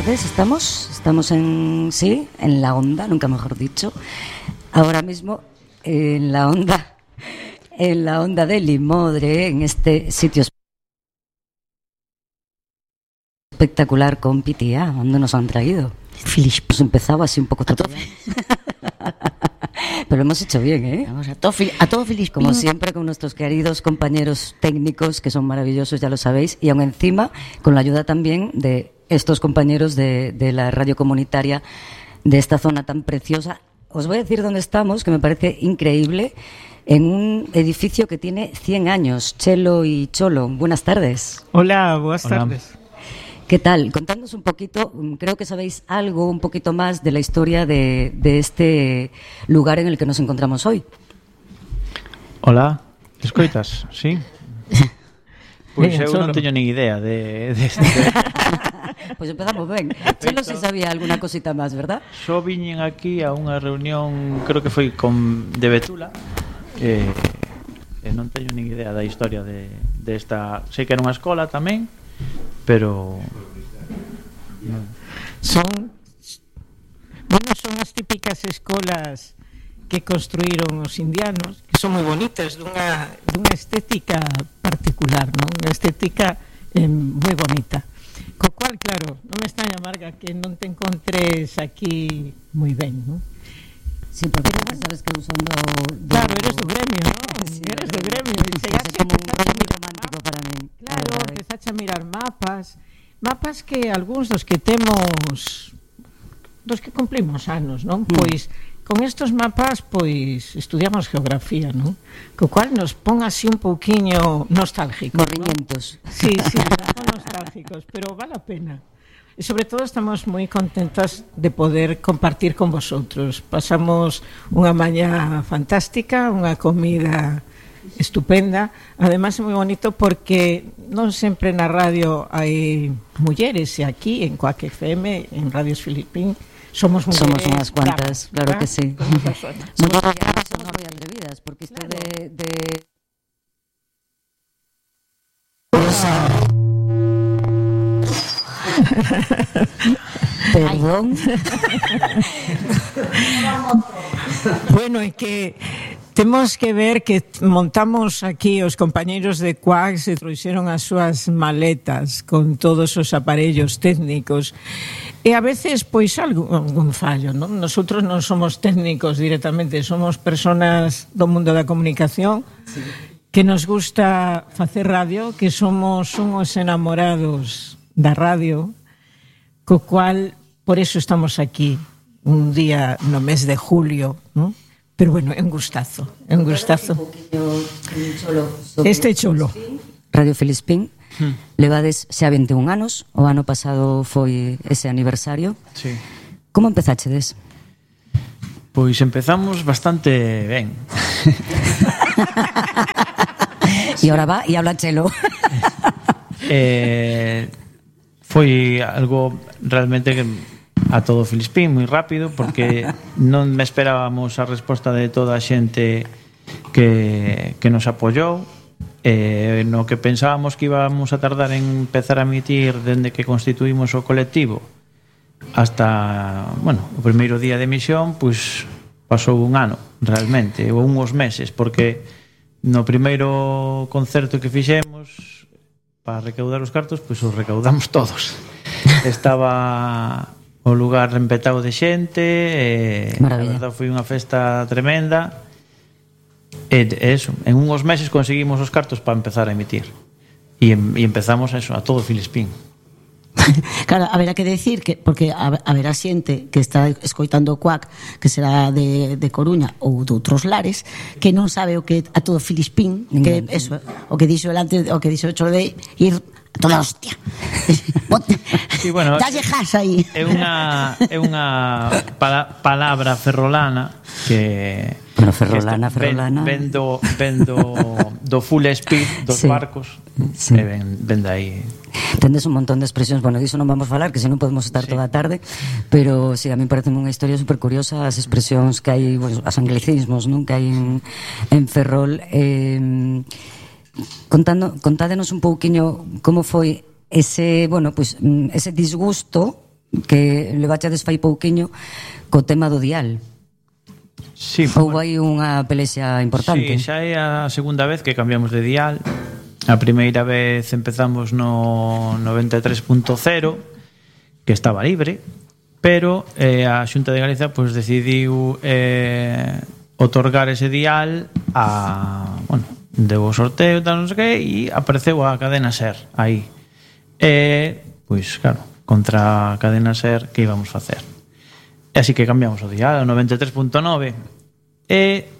tardes, estamos en la onda, nunca mejor dicho, ahora mismo en la onda de Limodre, en este sitio espectacular con Pitia, donde nos han traído. Hemos empezado así un poco pero hemos hecho bien, ¿eh? Vamos a todo Filispín. Como siempre, con nuestros queridos compañeros técnicos, que son maravillosos, ya lo sabéis, y aún encima, con la ayuda también de estos compañeros de la radio comunitaria de esta zona tan preciosa. Os voy a decir dónde estamos, que me parece increíble, en un edificio que tiene 100 años, Chelo y Cholo. Buenas tardes. Hola, buenas tardes. ¿Qué tal? Contadnos un poquito, creo que sabéis algo un poquito más de la historia de este lugar en el que nos encontramos hoy. Hola, escoitas, sí? Pois eu non teño nin idea de este. Pois empezamos ben. Chelo si sabía alguna cosita máis, verdad? Só viñen aquí a unha reunión, creo que foi de Betula, e non teño nin idea da historia de esta. Sei que era unha escola tamén, pero son as típicas escolas que construíron os indianos, que son moi bonitas, dunha estética particular, non? Unha estética moi bonita. Co cual, claro, non me extraña, Marga, que non te encontres aquí moi ben, non? Sí, porque sabes que eu son do... Claro, eres do gremio, non? Sí, eres do gremio. É como un rollo moi romántico para mí. Claro, empezaste a mirar mapas que algúns dos que temos, dos que cumplimos anos, non? Pois con estos mapas pois estudiamos geografía, non? Co cual nos pon así un pouquiño nostálgicos, morriñentos, ¿no? Sí, son nostálgicos, pero vale a pena. E sobre todo estamos moi contentas de poder compartir con vosotros. Pasamos unha mañá fantástica, unha comida estupenda. Además é moi bonito porque non sempre na radio hai mulleres, e aquí en Coac FM, en Radios Filispín, somos mulleres. Somos unhas cuantas, claro que sí. Somos moi atrevidas, porque isto de perdón. Bueno, é que temos que ver que montamos aquí os compañeiros de Coac, se trouxeron as súas maletas con todos os aparellos técnicos, e a veces pois algún fallo, non? Nosotros non somos técnicos directamente, somos personas do mundo da comunicación, sí, que nos gusta facer radio, que somos unhos enamorados da radio, co cual por eso estamos aquí un día no mes de julio, ¿no? Pero bueno, é un gustazo, é un gustazo. Este Cholo. Radio Filispín, levades xa 21 anos, o ano pasado foi ese aniversario. Sí. Como empezachedes? Pois empezamos bastante ben. E ahora va e habla Chelo. Foi algo realmente que a todo Filispín moi rápido, porque non me esperábamos a resposta de toda a xente que nos apoiou, no que pensábamos que íbamos a tardar en empezar a emitir dende que constituímos o colectivo hasta, bueno, o primeiro día de emisión, pois pasou un ano realmente, ou uns meses, porque no primeiro concerto que fixemos para recaudar os cartos, pois os recaudamos todos. Estaba o lugar empetado de xente, a verdade foi unha festa tremenda, e eso, en uns meses conseguimos os cartos para empezar a emitir, e empezamos eso, a todo Filispín. Claro, haberá que decir que, porque haberá xente que está escoitando o Coac, que será de Coruña ou de outros lares, que non sabe o que a todo Filispín, que eso, o que dixo o que dixo o Cholo de ir a toda hostia. Sí, bueno, dalle jas aí. É unha palabra ferrolana que ferrolana ven do full speed dos barcos, sí. E ven de aí. Tendes un montón de expresións, bueno, diso non vamos a falar, que se non podemos estar toda a tarde, pero sí, a mí parece unha historia super curiosa as expresións que hai, bueno, os anglicismos, non, que hai en Ferrol. Contádenos un pouquiño como foi ese, bueno, pues, ese disgusto que levachedes fai pouquiño co tema do dial. Sí, Houve aí unha pelexa importante. Sí, xa é a segunda vez que cambiamos de dial. A primeira vez empezamos no 93.0, que estaba libre, pero a Xunta de Galicia pues, decidiu otorgar ese dial a, bueno, deu o sorteo tal, non sei que, e apareceu a Cadena Ser aí. Pois claro, contra a Cadena Ser, que íbamos facer? E así que cambiamos o dial ao 93.9 e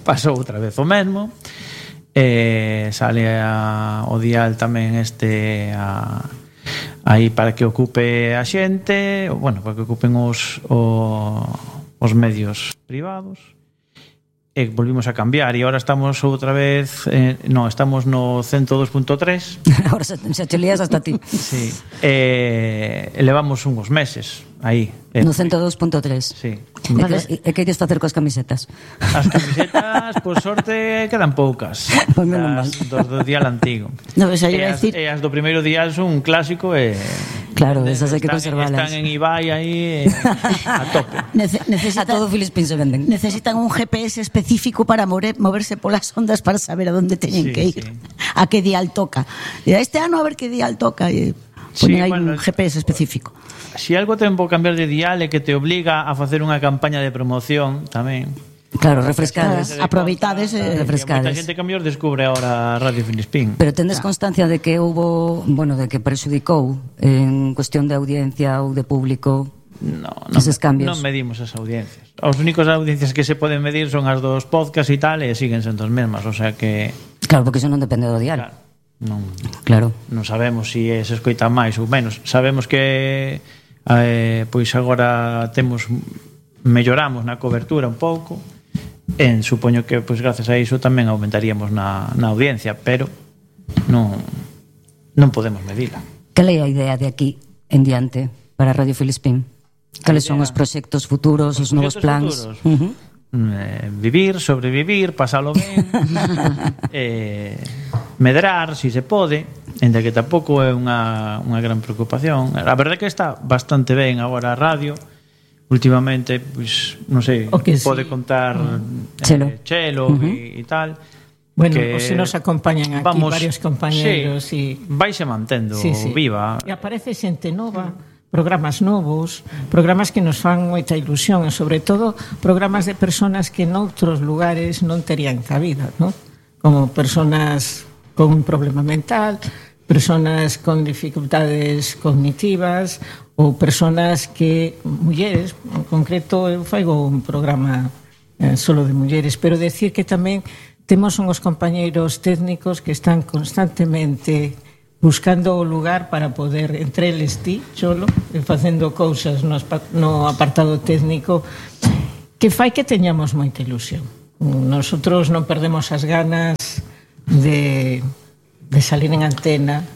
pasou outra vez o mesmo. Sale o dial tamén aí para que ocupe a xente, bueno, para que ocupen os medios privados. E volvimos a cambiar e agora estamos outra vez estamos no 102.3. Agora xa te lías hasta ti. Sí. Levamos uns meses aí. No 102.3. Sí. E que ides facer coas camisetas? As camisetas, por sorte, quedan poucas. Pois menos mal. Dos do dial antigo. No, xa iba a decir... E as do primeiro dial son un clásico e... Claro, esas hai que conservalas. Están en Ibai aí a tope. A todo Filispín se venden. Necesitan un GPS específico para moverse polas ondas para saber a dónde teñen que ir. Sí. A que dial toca. E este ano a ver que dial toca e ponen aí un GPS específico. Si algo ten por cambiar de dial é que te obliga a facer unha campaña de promoción tamén. Claro, refrescades. Aproveitades e refrescades. Moita xente cambios descubre ahora Radio Filispín. Pero tendes constancia de que houbo, bueno, de que prexudicou en cuestión de audiencia ou de público eses cambios? Non medimos as audiencias. As únicas audiencias que se poden medir son as dos podcasts e tal, e siguen sendo as mesmas, o sea que... Claro, porque iso non depende do dial. Claro. Non sabemos se se escoita máis ou menos. Sabemos que pois agora melloramos na cobertura un pouco. Supoño que pois gracias a iso tamén aumentaríamos na audiencia, pero non podemos medila. Cal é a idea de aquí en diante para Radio Filispín? Cales son os proxectos futuros, os novos plans? Vivir, sobrevivir, pasalo ben, medrar, si se pode, ainda que tampouco é unha gran preocupación. A verdade é que está bastante ben agora a radio. Últimamente, pois, non sei, pode contar Chelo e tal. Bueno, se nos acompañan aquí varios compañeros e vaise mantendo viva. E aparece xente nova, programas novos, programas que nos fan moita ilusión e sobre todo programas de personas que noutros lugares non terían cabida, ¿no? Como personas con un problema mental, personas con dificultades cognitivas ou personas que, mulleres, en concreto eu faigo un programa solo de mulleres, pero decir que tamén temos unhos compañeiros técnicos que están constantemente buscando o lugar para poder, entre eles ti, Cholo, facendo cousas no apartado técnico que fai que teñamos moita ilusión. Nosotros non perdemos as ganas de salir en antena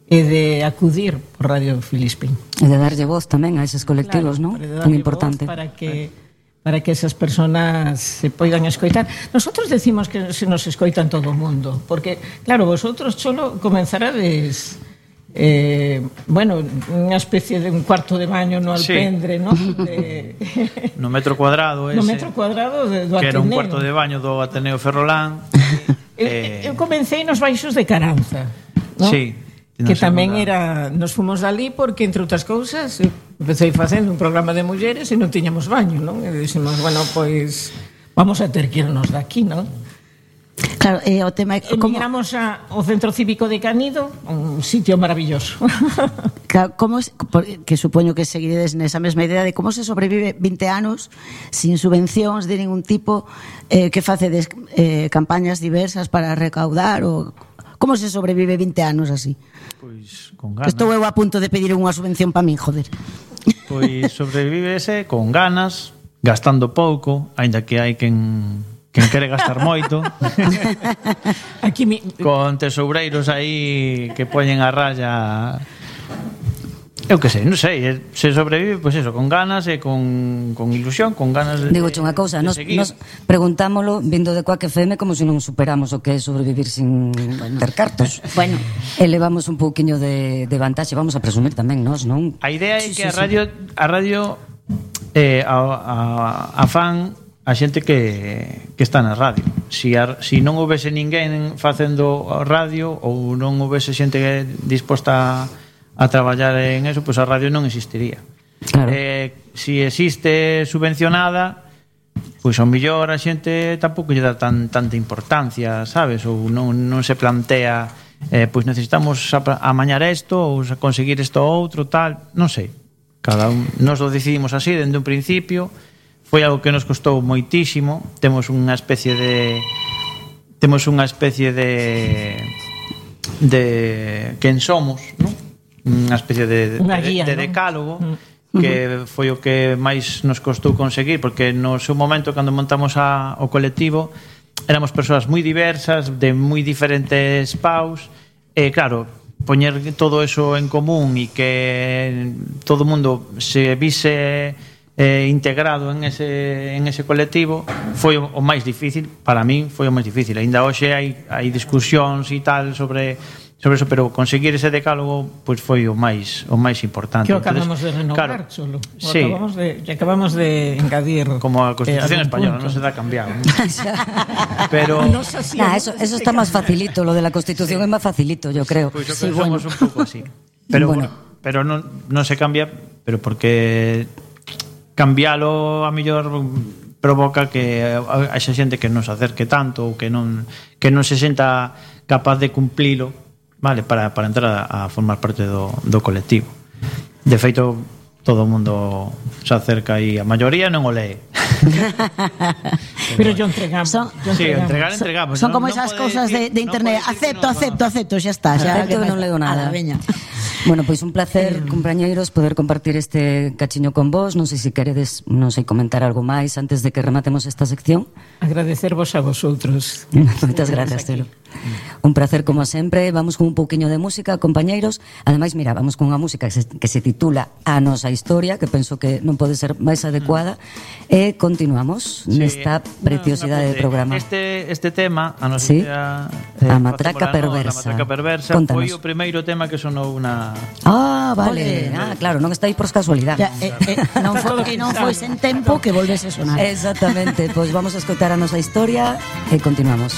e de acudir por Radio Filispín. E de darlle voz tamén a eses colectivos, claro, non? Tan importante. Para que esas personas se poidan escoitar. Nosotros decimos que se nos escoitan todo o mundo, porque, claro, vosotros, Cholo, comenzarades bueno, unha especie de un cuarto de baño no Alpendre, ¿no? No metro cuadrado ese. No metro cuadrado do Ateneo. Que era un cuarto de baño do Ateneo Ferrolán. Eu comecei nos baixos de Caranza, ¿no? Sí. Que tamén era, nos fomos dali porque, entre outras cousas, empecé facendo un programa de mulleres e non tiñamos baño, non? E dixemos, bueno, pois vamos a ter que irnos daqui, non? Claro, o tema é como migramos ao Centro Cívico de Canido, un sitio maravilloso. Claro, que supoño que seguiredes nesa mesma idea de como se sobrevive 20 anos sin subvencións de ningún tipo, que facedes campañas diversas para recaudar ou como se sobrevive 20 anos así? Pois con ganas. Estou eu a punto de pedir unha subvención para min, joder. Pois sobrevívese con ganas, gastando pouco, aínda que hai quen quere gastar moito. Con tesoureiros aí que poñen a raya. Eu que sei, non sei, se sobrevive, pois eso, con ganas e con ilusión, con ganas de Digo unha cousa, nos preguntámolo vindo de Quack FM como se non superamos o que é sobrevivir sin ter cartos. Bueno, E levamos un pouquiño de vantaxe, vamos a presumir tamén nós, non? A idea é que a radio a fan a xente que está na radio. Si non houvese ninguén facendo radio ou non houvese xente disposta a traballar en eso, pois a radio non existiría. Claro. Si existe subvencionada, pois ao mellor a xente tampouco lle dá tanta importancia, sabes? Ou non se plantea pois necesitamos amañar isto ou conseguir isto outro, tal, non sei. Cada un, nos lo decidimos así dende un principio. Foi algo que nos costou moitísimo. Temos unha especie de quen somos, non? Unha especie de decálogo que foi o que máis nos costou conseguir, porque no seu momento cando montamos o colectivo éramos persoas moi diversas, de moi diferentes paus, e claro, poñer todo eso en común e que todo o mundo se vise integrado en ese colectivo foi o máis difícil. Para min foi o máis difícil. Ainda hoxe hai discusións e tal sobre eso, pero conseguir ese decálogo pois foi o máis importante. Que acabamos de renovar, claro, solo. Sí. Acabamos de engadir como a Constitución española, non se dá cambiado. Pero eso está máis facilito, lo de la Constitución é máis facilito, yo creo. Pois pues somos un pouco así. Pero pero non se cambia, pero porque cambialo a mellor provoca que haxa xente que non se acerque tanto ou que non se senta capaz de cumplilo, vale, para entrar a formar parte do colectivo. De feito, todo o mundo se acerca e a maioría non o lee. Pero yo entregamos. Sí, entregamos. Son como esas cousas de internet. Acepto, xa está. Acepto que non leo nada. Bueno, pois un placer, compañeiros, poder compartir este cachiño con vos. Non sei se queredes, non sei, comentar algo máis antes de que rematemos esta sección. Agradecervos a vosotros. Moitas gracias, Telo. Un placer como sempre. Vamos con un pouquiño de música, compañeiros. Ademais, mira, vamos con unha música que se titula A Nosa Historia, que penso que non pode ser máis adecuada. E continuamos nesta preciosidade de programa. Este tema, A Nosa Historia, A Matraca Perversa. A Matraca Perversa foi o primeiro tema que sonou na... Ah, vale. Claro, non está aí por casualidade. Non foi sen tempo que volvese a sonar. Exactamente. Pois vamos a escoitar A Nosa Historia e continuamos.